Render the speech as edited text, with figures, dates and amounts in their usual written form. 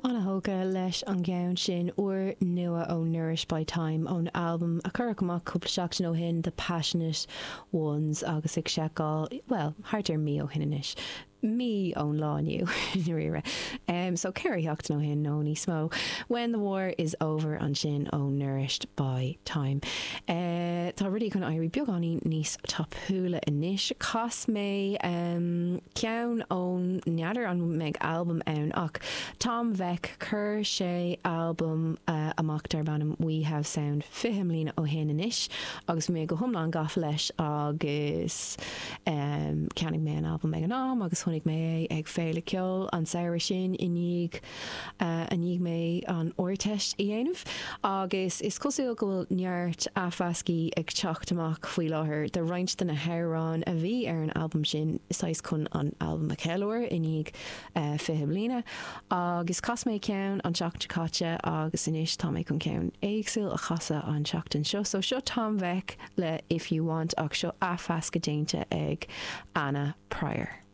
Ana-thógtha leis an gceann sin, úrnua ó Nourished by Time ón albam a cuireadh amach cúpla seachtain ó shin, The Passionate Ones, agus ag seiceáil, bhuel, thart ar mí ó shin anois, mí ón lá inniu, i ndáiríre. So 4 sheachtain ó shin nó níos mó. When the War is Over ansin ó Nourished by Time. Tá rudaí chun éirí beagáinín níos tapúla anois. Chas mé. ceann ón, n'fheadar an mbeidh albam ann ach Tom Vek, chuir sé albam amach darb ainm We Have Sound 20 mbliana ó shin anois agus bhí mé go hiomlán gafa leis agus cheannaigh mé an albam ag an am agus chonaic mé é ag féile ceoil an samhradh sin i ndiaidh i ndiaidh mé an Ardteist a dhéanamh agus is cosúil go bhfuil neart athmheascthaí ag teacht amach faoi láthair de roinnt de na hamhráin a bhí ar an albam sin, saghas chun an albam a cheiliúradh i ndiaidh 20 bliana. Agus chas mé ceann an tseachtain seo caite agus anois tá mé chun ceann éagsúil a chasadh an tseachtain seo. So seo Tom Vek le If You Want ach seo athmheascadh déanta ag Anna Pryor.